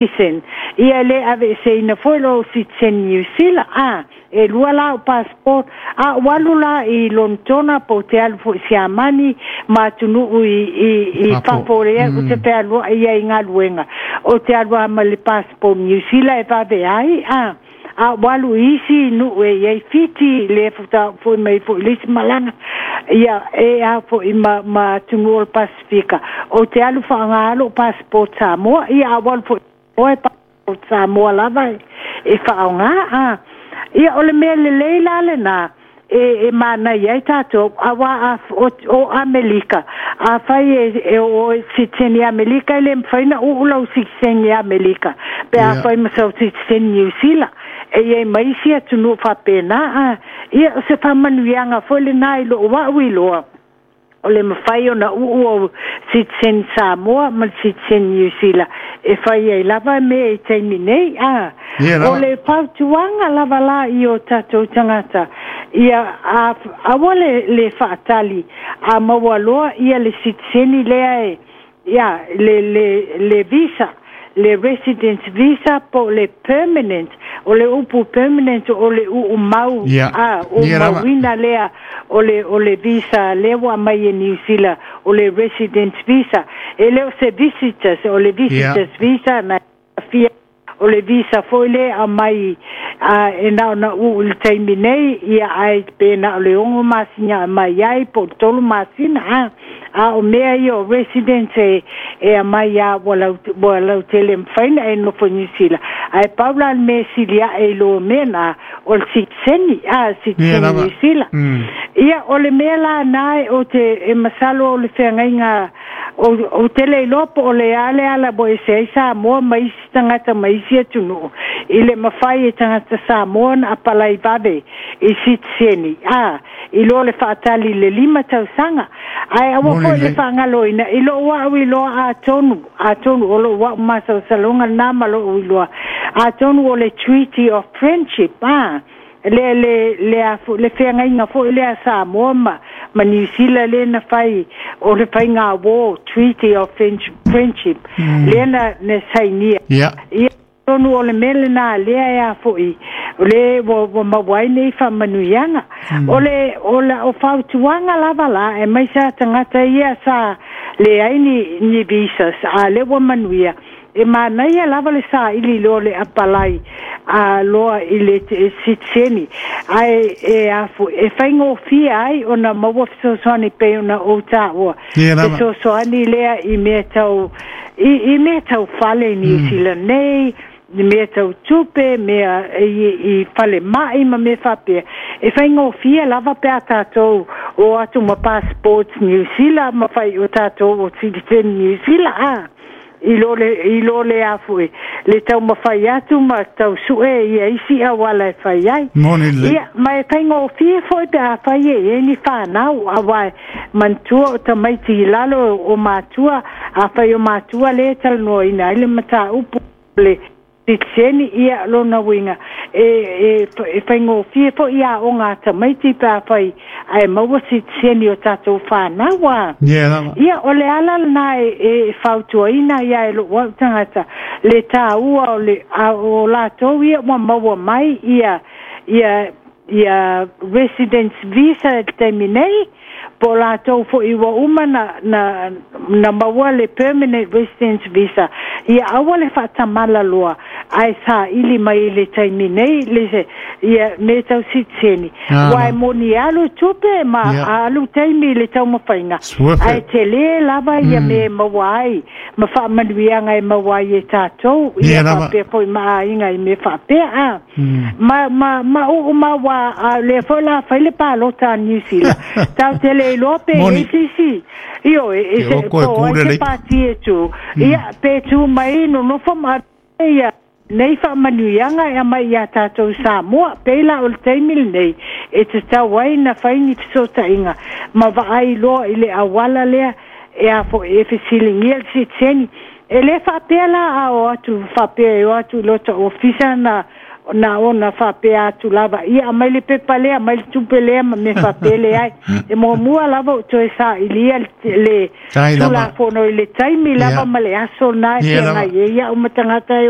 Citizen. Ia le aveeseina foi lou citizen Niu Sila, a e lua la o passport, a ou alu la i Lonetona po o te alu foi i Siamani ma atunuu i fafo lea ou te fealuai ai i galuega, ou te alu lava ma le passport Niu Sila e vave ai, a a ou alu i isi nuu e i ai Fiti, lea faatoa ou foi mai foi i le isi malaga, ia e a foi ma atunuu o le Pasefika, ou te alu faaaoga lava lou passport Samoa, ia a ou alu foi i passport Samoa lava e faaaoga. A ia o le mea lelei la lena e manaia ai tatou, aua o Amelika, afai e o oe citizen i Amelika, e le mafai ona uu lau citizen i Amelika pe afai ma sau citizen Niu Sila. E i ai ma isi atunuu faapena. A ia o se faamanuiaga foi lena i lou au iloa, o le mafai ona uu ou citizen Samoa ma le citizen Niu Sila e fai ai lava mea i taimi nei. A o le fautuaga lava la i o tatou tagata, ia aua le faatali a maua loa ia le citizen lea e ia le visa, le residence visa po le permanent. O le upu permanent o le uu mau, a o mauina lea o le visa lea ua aumai e Niu Sila, o le residence visa. E le o se visitors, o le visitors visa na fia, o le visa foi lea aumai e na ona uu i le taimi nei, ia ai pe na o le 6 masina aumai ai po o le 3 masina. A o mea ia o residence e aumai a ua lautele mafai na e nofo i Niu Sila. Ae pau la le mea sili ae i lo mea na o le citizen, a citizen Niu Sila. Ia o le mea la na o te e masalo o le feagaiga o te le iloa po o le a le ala ua ese ai Samoa ma isi tagata ma isi atunuu, i le mafai e tagata Samoa na apalai vave i citizen, a i lo le faatali le 5 tausaga. Ae aua foi le faagaloina i lou au iloa, atonu o lou au masalosaloga lena ma lou iloa, atonu o le Treaty of Friendship, a le feagaiga foi lea Samoa ma Niu Sila lea na fai, o le faiga war, Treaty of Friendship, lea na sainia. Ia tonu o le mea lena lea e a foi, o le ua maua ai nei faamanuiaga. O le o fautuaga lava la, e mai sa tagata ia sa leai ni visas, a lea ua manuia, e manaia lava le saili loa le apalai a loa i le citizen, ae e faigofie ai ona maua fesoasoani pei ona ou taua, fesoasoani lea i mea tau i mea tau fale i Niu Sila nei, i mea tau tupe, mea i fale mai ma mea faapea. E faigofie lava pe a tatou o atu ma passports Niu Sila ma fai o tatou o citizen Niu Sila, a i lo le afu le taumafai atu ma tausue ia isi auala e fai ai. Ia, ma e faigofie foi pe a fai e i ai ni whanau, aua manatua o tamaiti i lalo o matua, a fai o matua le talanoaina ai le mataupu le citizen, ia lona uiga e faigofie foi ia aoga a tamaiti pe a fai ae maua citizen o tatou whanau a. Ia o le ala lena e fautuaina ia e lou au tagata le taua o latou ia ua maua mai ia residence visa i le taimi nei, po latou foi ua uma na maua le permanent residence visa, ia aua le faatamala loa ae saili mai i le taimi nei ia mea tau citizen. Ua e moni alu tupe ma alu taimi i le taumafaiga, ae tele lava ia mea e maua ai ma faamanuiaga e maua ai e tatou, ia faapea foi ma aiga i mea faapea. Ma uu ma ua lea foi la fai le palota a Niu Sila, tau te le iloa pe e sisi io e se po ai se pati e tu, ia pe tu mai nonofo ma ia nei faamanuiaga e aumai ia tatou Samoa. Pei la o le taimi lenei e tatau ai na fai ni fesootaiga ma vaai loa i le auala lea e a foi e fesiligia le citizen. E le faapea la a o atu faapea e o atu i lota ofisa na Na ona faapea atu lava, ia aumai le pepa lea, aumai le tupe lea ma mea faapea, leai. E muamua lava ou toe sailia le Tai lava. Tulafono i le taimi lava ma le aso na e Ia lava. feagai ai au ma tagata e o.